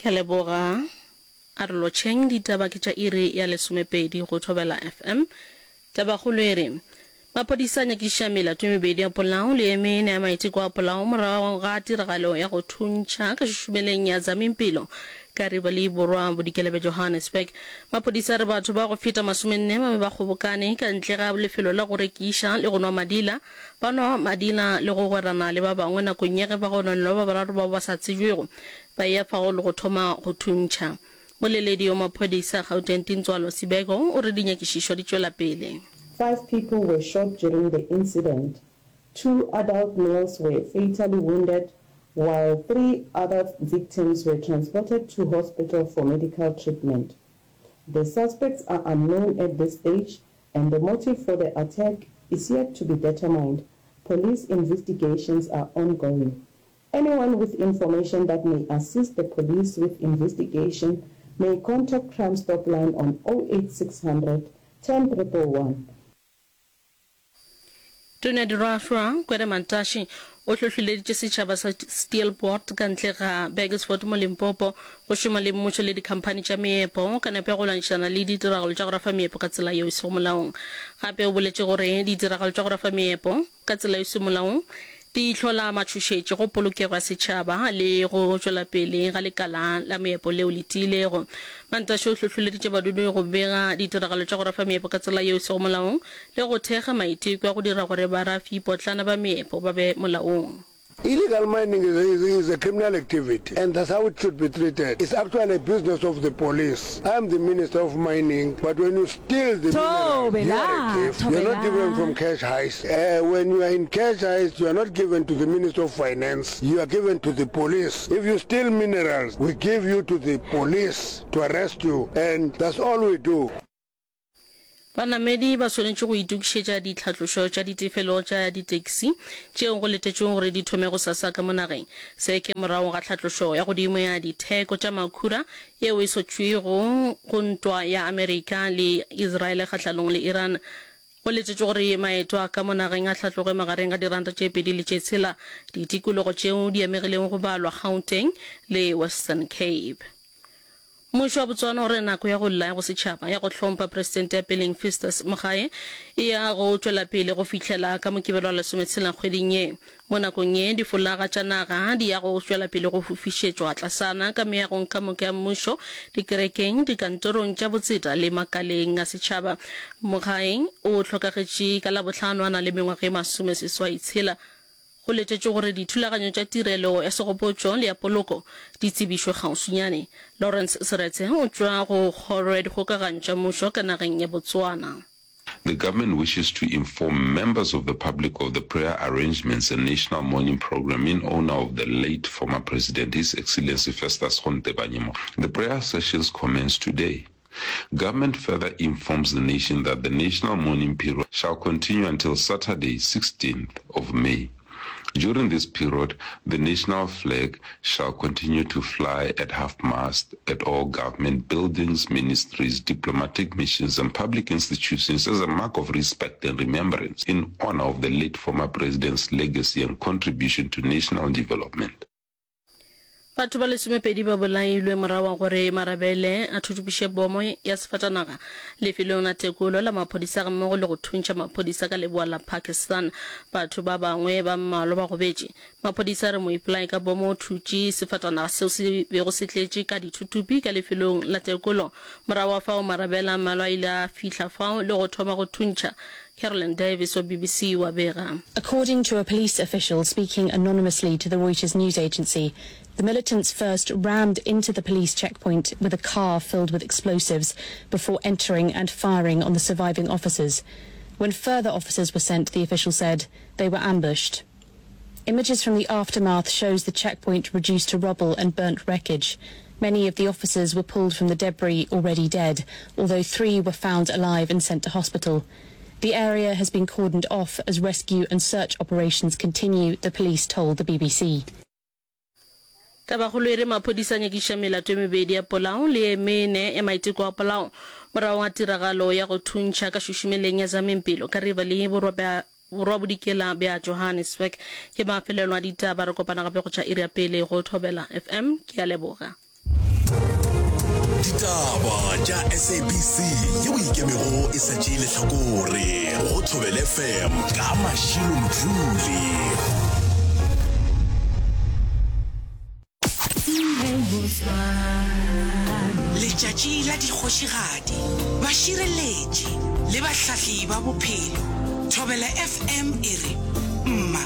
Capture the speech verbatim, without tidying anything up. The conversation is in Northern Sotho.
Ke a leboga. A re lotšheng, ditaba ke tša iri ya lesomepedi go Thobela F M. Tabakgolo e re, Maphodisa a nyakišiša melato e mebedi ya polao le e mene ya maiteko a polao morago ga tiragalo ya go thuntšha ka šušumeleng ya Zamimpilo ka Riverlea Borwa Bodikela bja Johannesburg. Maphodisa a re batho ba go feta masomenne ba be ba kgobokane ka ntle ga lefelo la go rekiša le go nwa madila, ba nwa madila le go gwerana le ba bangwe nakong ya ge bagononelwa ba bararo bao ba sa tsebjwego ba eya fao le go thoma go thuntšha. Moleledi wa maphodisa Gauteng Tintswalo Sibeko o re dinyakišišo di tšwela pele. Five people were shot during the incident. Two adult males were fatally wounded while three other victims were transported to hospital for medical treatment. The suspects are unknown at this stage and the motive for the attack is yet to be determined. Police investigations are ongoing. Anyone with information that may assist the police with investigation may contact Crime Stop Line on oh eight six hundred ten triple one. Tona ya Dirafšwa, Gwede Mantashe, o hlohleleditše setšhaba sa Steelpoort ka ntle ga Burgersfort mo Limpopo go šoma le mmušo le dikhamphani tša meepo ka nepo ya go lwantšhana le ditiragalo tša go rafa meepo ka tsela yeo e sego molaong. Gape o boletše gore ditiragalo tša go rafa meepo ka tsela e sego molaong di hlola matšhošetši go polokego ya setšhaba le go tšwela pele ga lekala la meepo leo le tiilego. Mantashe o hlohleleditše badudi go bega ditiragalo tša go rafa meepo ka tsela yeo e sego molaong le go thekga maiteko a go dira gore barafi-potlana ba meepo ba be molaong. Illegal mining is, is, is a criminal activity and that's how it should be treated. It's actually a business of the police. I am the minister of mining, but when you steal the minerals, you are a thief. You're not different from cash heist. Uh, when you are in cash heist, you are not given to the minister of finance, you are given to the police. If you steal minerals, we give you to the police to arrest you, and that's all we do. Banamedi ba swanetše go itokišetša ditlhatlošo tša ditefelo tša ditaxi tšeo go letetšwego gore di thome gosasa ka mo nageng. Se ke morago ga tlhatlošo ya godimo ya ditheko tša makhura yeo e sotšwego go ntwa ya Amerika le Israel kgahlanong le Iran. Go letetšwe gore maeto a ka mo nageng a hlatloge magareng ga diranta tše pedi le tše tshela ditikologo tšeo di amegilego go balwa Gauteng le Western Cape. Mmušo wa Botswana o re nako ya go lla ya bosetšhaba ya go hlompha Presidente ya peleng Festus Mogae e ya go tšwela pele go fihlela ka Mokibelo wa lesometshela kgweding ye. Mo nakong ye, difolaga tša naga di ya go tšwela pele go fofišetšwa tlasana ka meagong ka moka ya mmušo, dikerekeng, dikantorong tša botseta le makaleng a setšhaba. Mogae o hlokagetše ka Labohlano a na le mengwaga e masomeseswai tshela. Go letetšwe gore dithulaganyo tša tirelo ya segopotšo le ya poloko di tsebišwe kgauswinyane. Lawrence Seretse o tšwa go Kgoro ya Dikgokaganyo tša Mmušo ka nageng ya Botswana. The government wishes to inform members of the public of the prayer arrangements and national mourning program in honor of the late former president, His Excellency Festus Gontebanye Mogae. The prayer sessions commence today. Government further informs the nation that the national mourning period shall continue until Saturday, sixteenth of May. During this period, the national flag shall continue to fly at half-mast at all government buildings, ministries, diplomatic missions and public institutions as a mark of respect and remembrance in honor of the late former president's legacy and contribution to national development. Batho ba lesomepedi ba bolailwe morago ga gore marabele a thuthupiše bomo ya sefatanaga lefelong la tekolo la maphodisa gammogo le go thuntšha maphodisa ka leboa la Pakistan. Batho ba bangwe ba mmalwa ba gobetše. Maphodisa a re moipolai ka bomo o thutše sefatanaga seo se bego se tletše ka dithuthupi ka lefelong la tekolo. Morago ga fao marabele a mmalwa a ile a fihla fao le go thoma go thuntšha. Carolyn Davis wa B B C o a bega. According to a police official speaking anonymously to the Reuters news agency, the militants first rammed into the police checkpoint with a car filled with explosives before entering and firing on the surviving officers. When further officers were sent, the official said, they were ambushed. Images from the aftermath shows the checkpoint reduced to rubble and burnt wreckage. Many of the officers were pulled from the debris already dead, although three were found alive and sent to hospital. The area has been cordoned off as rescue and search operations continue, the police told the B B C. Tabakgolo e re maphodisa a nyakišiša melato e mebedi ya polao le e mene ya maiteko a polao morago ga tiragalo ya go thuntšha ka šušumeleng ya Zamimpilo ka Riverlea borwa bja borwa-bodikela bja Johannesburg. Ke mafelelo a ditaba, re kopana gape go tša iri ya pele go Thobela F M. Ke a leboga. Ditaba tša SABC yeo e ikemego e sa tšee lehlakore go Thobela FM ka Mashilo Mdluli. Letšatši la dikgošigadi, bašireletši le bahlahli ba bophelo. Thobela FM e re, Mma.